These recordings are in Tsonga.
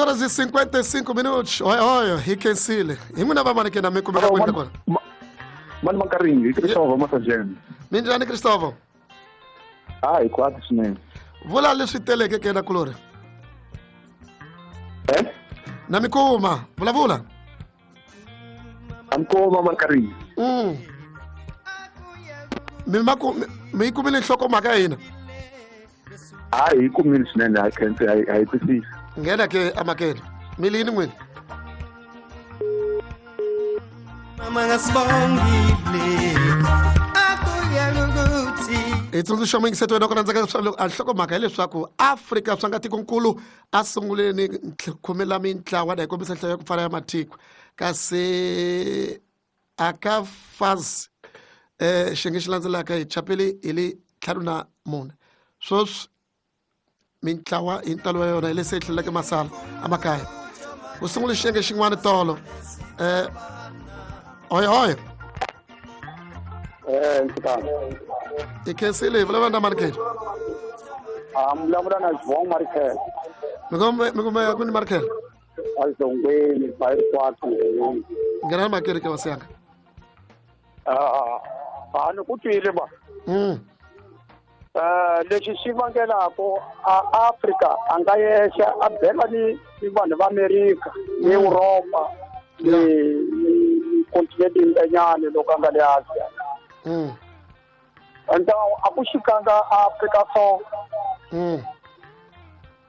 Horas e 55 minutos. Oi, oi, hi khensile. Hi n'wina va mani ke na mi kumeka kwini kona? Mani Makaringi, hi Christopher Masajeni. Minjhani, Christopher? A hi kwati swinene. Vula leswi teleke ke na kulori. Eh? Na mi kuma, vulavula. A mi kuma, Makaringi. Mi ma ku mi yi kumile nhlokomhaka ya hina? A hi kumile swinene, ha khense, ha hi twisisa. Nghena ke amakele. Mi lini n'wina? Mama ngasibongile akuyalukuthi Hi tsundzuxa muyingiseti wena ku landzaka a nhlokomhaka hileswaku Afrika swa nga tikonkulu a sunguleni khomela mintlawa na hi kombisa nhlayo ya ku pfala ya matiko, kasi aka faz xiyenge xi landzelaka hi chapeli hi le 54. Sweswi mintlawa hi ntalo wa yona hi lese yi tlheleleke masala amakaya. Ku sungule xiyenge xin'wana tolo. Oye oye. Nhlekani. Hi khensile. Hi vulavula na mani ke? A mi vulavula na Xivongo Marikhele. Mi kumeka kwini, Marikhele? Azongweni bayikwati. Nghena na makeri ke, hosi yanga. A ni ku twile ba. Lexi xi vangelaku a Afrika a nga yexe a bela ni vanhu va Amerika ni Europa ni continent yin'wanyana loko a nga le Asia. Enta a ku xikanga Afrika so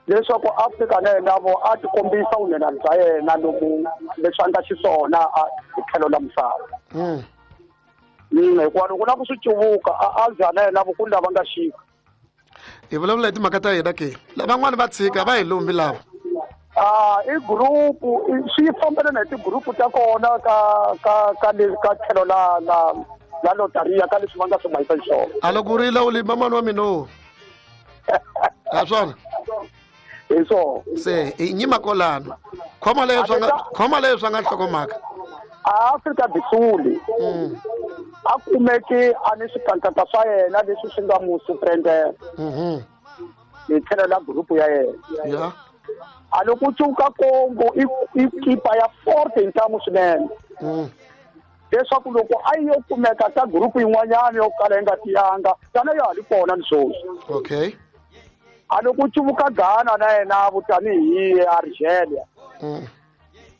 leswaku Afrika na yena vo a ti kombisa vunhenha bya yena lomu leswi a nga xiswona hi tlhelo la misava. Hikuva loko na ku swi cuvuka a Asia na yena vo ku lava nga xika. Hi vulavula hi timhaka ta hina ke, lavan'wani va tshika va hi lumbi lava. A i group swi fambelana hi ti-group ta kona ka le ka tlhelo la lotaria ka leswi va nga swi mahisa xiswona. A loko u rila u limba mani wa mina o a swona. Hi swona. Se hi nyima kolano, khoma leyo swa nga khoma leyo swa nga nhlokomhaka. A Afrika do Sul a kumeke a ni swikankata swa yena leswi swi nga mu surprendela hi tlhelo la group ya yena. A loko cuka Congo i kipa ya forte hi ntamu swinene leswaku loko a yi yo kumeka ka group yin'wanyana yo kala yi nga tiyanga tana ya ha ri kona ni sweswi. A loko cuvuka Ghana na yena vo tanihi Algeria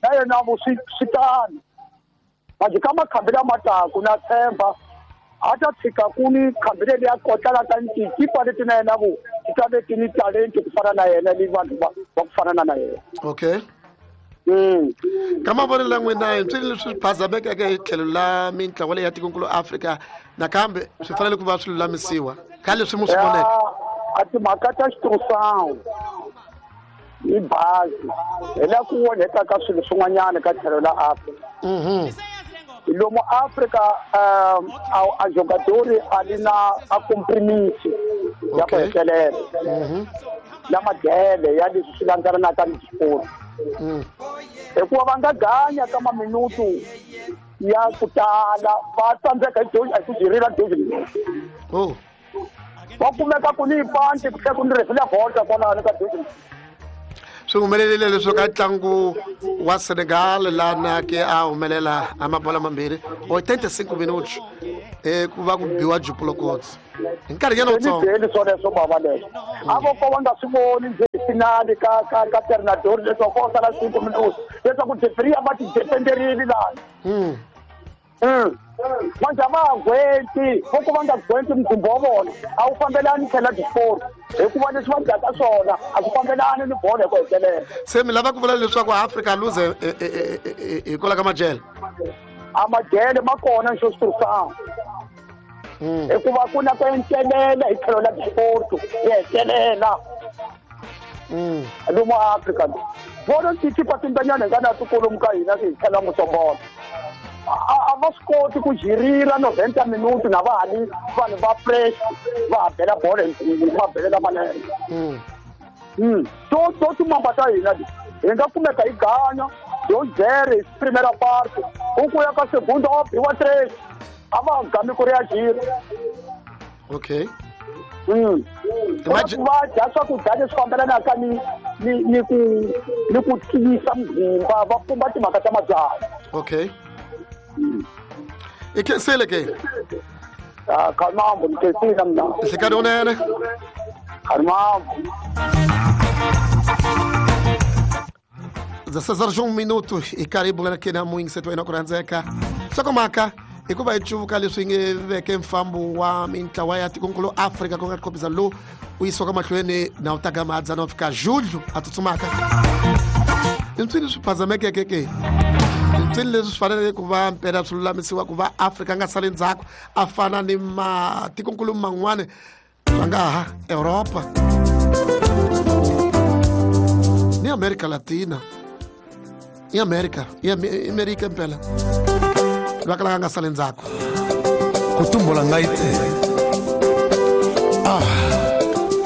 na yena vo swi tano manje ka makhambi lama taku na tshemba a ta tshika ku ni khambi leri ya kotlala ka tikipa leti na yena vo ti ta ve ti ni talenti ku fana na yena ni vanhu va ku fana na yena. Ka mavonelo ya n'wina, hi swilo leswi phazamekeke hi tlhelo la mintlawa leyi ya tikonkulu Afrika, nakambe swi fanele ku va swi lulamisiwa ka leswi mu swi voneke? A timhaka ta xitirhisano ni bazi hi la ku onheka ka swilo swin'wanyana ka tlhelo la Afrika. Lomu Afrika a jogadori a li na a compromise ya ku hetelela na madele ya leswi swi landzelanaka ni xiporo hikuva va nga ganya ka maminutu ya ku tala va tsandzeka hi ku jirila dozi. Va kumeka ku ni panti ku tlhela ku ni refila volta kwalano ka dozi. Swi humelerile leswi ka ntlangu wa Senegal lana ke a humelela a mabola mambirhi 85 minutos ku va ku biwa jupulokotsi hi nkarhinyana wutsongo. Byeli swoleswo bava leswo a vo ko va nga swi voni njhe finali ka Ternador leswaku ko sala 5 minutos leswaku referee a va ti defenderile lani. Manje a va ha gwenti vo ku va nga gwenti mkhumbo wa vona a wu fambelani tlhela disport hikuva leswi va dyaka swona a swi fambelani ni bolo hi ku hetelela. Se mi lava ku vula leswaku Afrika luze hikwalaho ka majele? A majele ma kona xo switirhisana hikuva ku na ku encelela hi tlhelo la disport yi hetelela lomu Afrika vona tikipa timbanyana hi nga na tikolomu ka hina hi tlhela Musombolo a va swi koti ku jirila 90 minuti na va ha li vanhu va fresh va ha bela bolo hi mabelela manene. To timamba ta hina leti hi nga kumeka hi ganya yo jere hi primera parte u ku ya ka segunda wa biwa tres a va ha gami ku ri ya jira. Va dya swakudya leswi fambelanaka ni ni ku tiyisa mugimba va pumba timhaka ta mabyalwa. Okay. I khensile ke? Khalimambo ni khensile mina. Nhlikani unene. Khalimambo. 16 horas 1 minuto i karhi hi bula na muyingiseti wa yena ku rhandzeka. Nhlokomhaka hikuva hi cuvuka leswi nge veke mfambo wa mintlawa ya tikonkulu Afrika ku nga tikhombisa lowu u yisiwaka mahlweni na u taka madzana u fika julho a tsutsumaka. I mpsini swi phazamekeke ke? Mpsini leswi swi faneleke ku va mpela swi lulamisiwa ku va Afrika a nga sali ndzhaku a fana ni matikonkulu man'wana swa nga ha Europa ni Amerika Latina i Amerika i Amerika mpela va kalaka nga sali ndzhaku. Kotumbola ngai te.